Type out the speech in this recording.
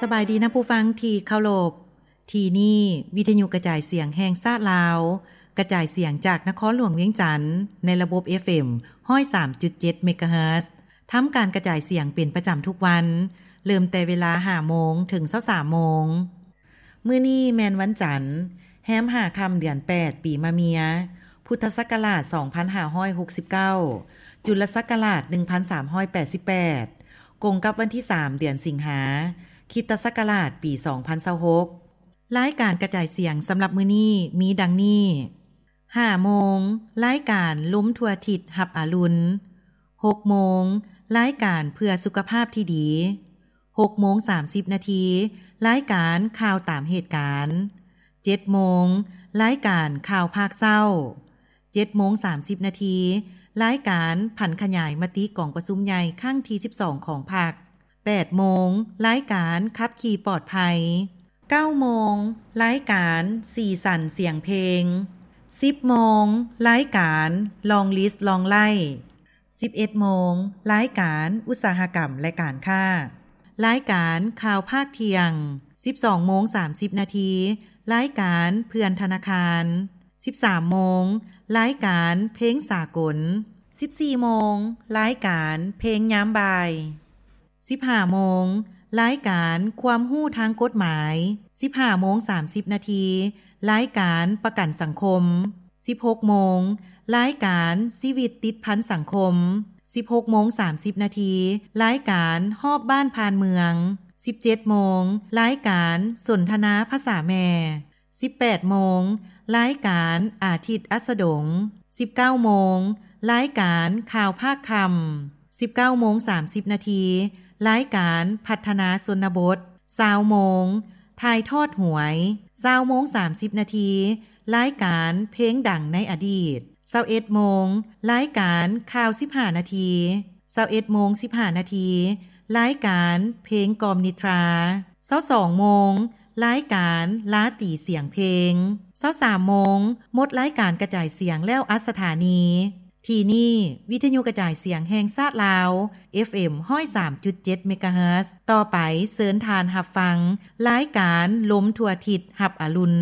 ສະບາຍດີນະຜູ້ຟັງທີ່ເຄົາລົບ. ທີ່ນີ້ວິທະຍຸກະຈາຍສຽງແຫ່ງຊາດລາວ, ກະຈາຍສຽງຈາກນະຄອນຫຼວງວຽງຈັນ ໃນລະບົບ ເອັຟເອັມ ຮ້ອຍສາມຈຸດເຈັດ ເມກາເຮີດ. ທຳການກະຈາຍສຽງເປັນປະຈຳທຸກວັນ, ເລີ່ມແຕ່ເວລາຫ້າໂມງເຖິງຊາວສາມໂມງ. ມື້ນີ້ແມ່ນວັນຈັນ, ແຮມຫ້າຄ່ຳເດືອນແປດ ປີມະເມຍ, ພຸດທະສັກກະລາດສອງພັນຫ້າຮ້ອຍຫົກສິບເກົ້າ, ຈຸລະສັກກະລາດໜຶ່ງພັນສາມຮ້ອຍແປດສິບແປດ, ກົງກັບວັນທີສາມ ເດືອນສິງຫາ, ຄຣິສຕະສັກກະລາດປີສອງພັນຊາວຫົກ. ລາຍການກະຈາຍສຽງສຳລັບມື້ນີ້ມີດັ່ງນີ້: ຫ້າໂມງ, ລາຍການລົມທົ່ວທິດຮັບອາລຸນ. ຫົກໂມງ, ລາຍການເພື່ອສຸຂະພາບທີ່ດີ. ຫົກໂມງສາມສິບນາທີ, ລາຍການຂ່າວຕາມເຫດການ. ເຈັດໂມງ, ລາຍການຂ່າວພາກເຊົ້າ. ເຈັດໂມງສາມສິບນາທີ, ລາຍການຜັນຂະຫຍາຍມະຕິກອງປະຊຸມໃຫຍ່ຄັ້ງທີສິບສອງຂອງພັກ. ແປດໂມງ, ລາຍການຂັບຂີ່ປອດໄພ. ເກົ້າໂມງ, ລາຍການສີສັນສຽງເພງ. ສິບໂມງ, ລາຍການ Long List Long Live. ສິບເອັດໂມງ, ລາຍການອຸດສາຫະກຳ ແລະ ການຄ້າ. ລາຍການຂ່າວພາກທ່ຽງ. ສິບສອງໂມງສາມສິບນາທີ, ລາຍການເພື່ອນທະນາຄານ. ສິບສາມໂມງ, ລາຍການເພງສາກົນ. ສິບສີ່ໂມງ, ລາຍການເພງຍາມບ່າຍ. ສິບຫ້າໂມງ, ລາຍການຄວາມຮູ້ທາງກົດໝາຍ. ສິບຫ້າໂມງສາມສິບນາທີ, ລາຍການປະກັນສັງຄົມ. ສິບຫົກໂມງ, ລາຍການຊີວິດຕິດພັນສັງຄົມ. ສິບຫົກໂມງສາມສິບນາທີ, ລາຍການຮອບບ້ານຜ່ານເມືອງ. ສິບເຈັດໂມງ, ລາຍການສົນທະນາພາສາແມ່. ສິບແປດໂມງ, ລາຍການອາທິດອັດສະດົງ. ສິບເກົ້າໂມງ, ລາຍການຂ່າວພາກຄ່ຳ. ສິບເກົ້າໂມງສາມສິບນາທີ, ລາຍການພັດທະນາຊົນນະບົດ. ຊາວໂມງ, ຖ່າຍທອດຫວຍ. ຊາວໂມງສາມສິບນາທີ, ລາຍການເພງດັງໃນອະດີດ. ຊາວເອັດໂມງ, ລາຍການຂ່າວສິບຫ້ານາທີ. ຊາວເອັດໂມງສິບຫ້ານາທີ, ລາຍການເພງກອມນິດທາ. ຊາວສອງໂມງ, ລາຍການລາຕີສຽງເພງ. ຊາວສາມໂມງ, ໝົດລາຍການກະຈາຍສຽງແລ້ວອັດສະຖານີ. ທີ່ນີ້ວິທະຍຸກະຈາຍສຽງແຫ່ງຊາດລາວ ເອັຟເອັມ ຮ້ອຍສາມຈຸດເຈັດ ເມກາເຮີດ. ຕໍ່ໄປເຊີນທ່ານຮັບຟັງລາຍການລົມທົ່ວທິດຮັບອາລຸນ.